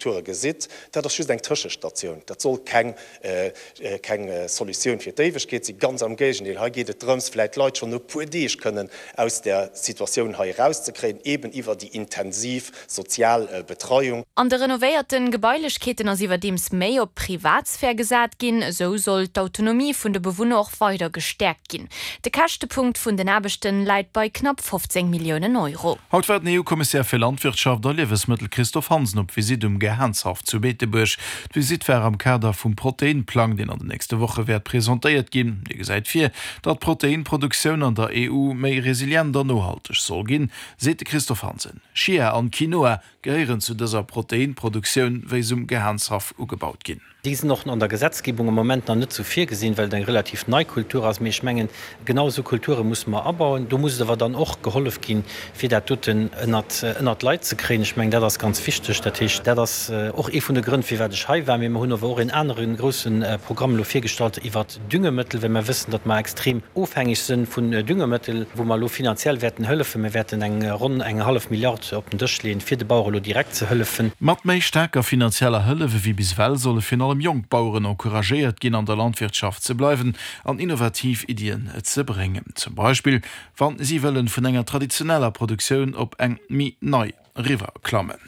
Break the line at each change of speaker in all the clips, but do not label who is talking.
Strukture gesitt, dat ass just eng Tëschestatioun. Dat soll keng, keng Solutioun fir d'Éiwegkeet sinn. Ganz am Géigendeel, hei geet et drëms, vläicht d'Leit schonn no e puer Deeg kënnen aus där Situatioun hei erauszekréien, eeben iwwer déi intensiv sozial Betreiung.
An de renovéierten Gebailechkeeten ass iwwerdeems méi op Privatsphär gesat ginn. Esou soll d'Autonomie vun de Bewunner och weider gestäerkt ginn. De Käschtepunkt vun den Aarbechten läit bei knapp 15 Milliounen Euro.
Haut war den EU-Kommissär fir Landwirtschaft a Liewesmëttel Christophe Hansen op Visitt um Gehaanshaff zu Beetebuerg. D'Visitt war am Kader vum Proteinplang, deen an den nächste Woche wäert presentéiert ginn. Dee gesäit vir, datt d'Proteinproduktioun an der EU méi resilient an nohalteg soll ginn, seet de Christophe Hansen. Chia an Quinoa gehéieren zu dëser Proteinproduktioun, wéi se um Gehaanshaff ugebaut ginn.
Déi sinn och an der Gesetzgebung am Moment nach net esou virgesinn, well et eng relativ nei Kultur ass. Mee ech mengen, genau esou Kulture musse mer abauen. Do muss et awer dann och gehollef ginn, fir dat doten ënnert ënnert d'Leit ze kréien. Ech mengen, dat ass ganz wichteg. Dat heescht, dat ass och ee vun de Grënn, firwat ech hei war. Mee mer hunn awer och een anere grousse Programm elo virgestallt iwwert Düngemëttel, well mer wëssen, datt mer extrem ofhängeg sënn vun Düngemëttel, wou mer elo finanziell wäerten hëllefen. Mir wäerten eng ronn eng hallef Milliard op den Dësch leeën, fir de Bauere elo direkt ze hëllefen.
Mat méi staarker finanzieller Hëllef ewéi bis ewell solle virun allem jonk Baueren encouragéiert ginn, an der Landwirtschaft ze bleiwen an innovativ Iddien ze bréngen. Zum Beispill wann si wëllen vun enger traditioneller Produktioun op eng méi nei eriwwer klammen.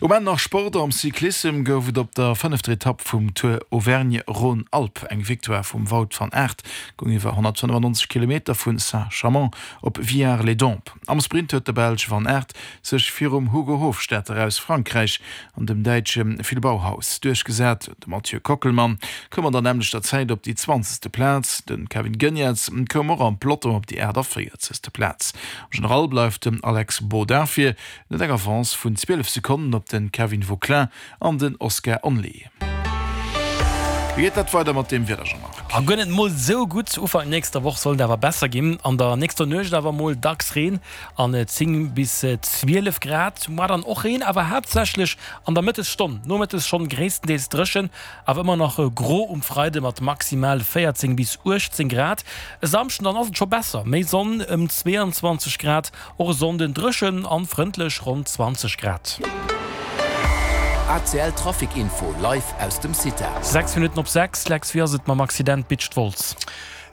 Um Enn nach Sport, Am Cyclissem gouf et op der fënnefter Etapp vum Tour Auvergne-Rhône-Alpes eng Victoire vum Wout van Aert, goung iwwer 195 Kilometer vu Saint-Chamond op Villars-les-Dombes. Am Sprint huet de Belsch Van Aert sech virum Hugo Hofstetter aus Frankräich an dem Däitsche Phil Bauhaus duerchgesat. De Mathieu Kockelmann koum an der nämmlechter Zäit op déi zwanzegste Plaz, de Kevin Geniets koum och am Peloton op déi 48. Plaz. Am General bleift den Alex Baudin vir, en huet eng Avance vun 12 Sekonnen op de Kevin Vauquelin an den Oscar Onley. Wéi geet dat weider mat deem Wieder, Jean-Marc?
A guer net mol sou gutt. Ufank nächster Woch soll et awer besser ginn. An der nächster Nuecht awer mol dacks Reen an 10 bis 12 Grad. Muar dann och Reen, awer haaptsächlech an der Mëttesstonn. Nomëttes schonn gréisstendeels dréchen, awer ëmmer nach gro um Freide mat maximal 14 bis 18 Grad. E Samschden dann ass et scho besser, méi Sonn, ëm 22 Grad. Och e Sonnden dréchen an frëndlech, ronn 20 Grad.
ACL Trafic Info live aus dem CITA.
6 Minutten op 6, Lex, wéi ass et mam Accident Bitscht-Wolz?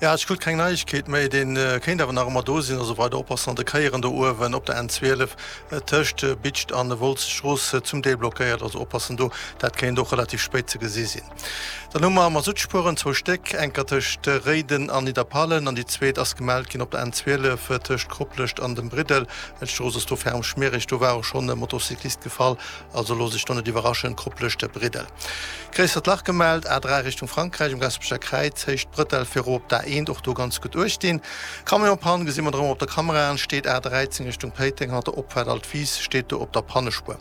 Jo, ech krut keng Neiegkeet méi. Dee kéint awer nach ëmmer do sinn. Also weider oppassen an de Kéieren do uewen op der N12 tëscht Bitscht an Wolz. D'Strooss zum Deel blockéiert, also oppassen do. Dat kéint och relativ spéit ze gesi sinn. Dann hu mer Masuttspueren, zwou Stéck, enker tëscht Réiden an Nidderpallen an déi zweet ass gemellt ginn op der N12 tëscht Koplescht an dem Briddel. D'Strooss ass do ferm schmiereg, do war och schonn e Motocyclist gefall, also looss iech do net iwwerraschen. Koplescht, Briddel. Gréissert Lach gemellt, A3 Richtung Frankräich um Gaasperecher Kräiz, Héicht Brëttel fir erop op d'A1, och do ganz gutt uecht dinn. Camion-Pann gesi mer erëm op der Kamera an, steet A13 Richtung Péiteng, hannert der Opfaart Altwis, steet do op der Pannespuer.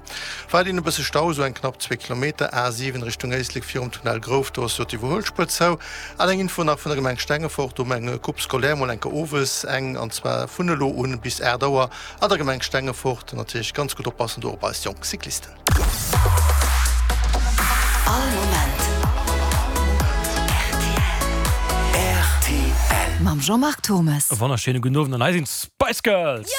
Weiderhin e bësse Stau, esou eng knapp zwee Kilometer, A7 Richtung Éislek virum Tunnel Grouf, do ass jo d'Iwwerhuelspuer zou. An eng Info nach vun der Gemeng Stengefort, do hu mer eng Coupe scolaire mol enker owes eng, an zwar vun elo un bis 8 Auer an der Gemeng Stengefort. Natierlech ganz gutt oppassen do op eis jonk Cyclisten.
All Moment rtl.
Mam Jean-Marc Thommes.
E wonnerschéine gudden Owend an hei sinn d'Spice Girls!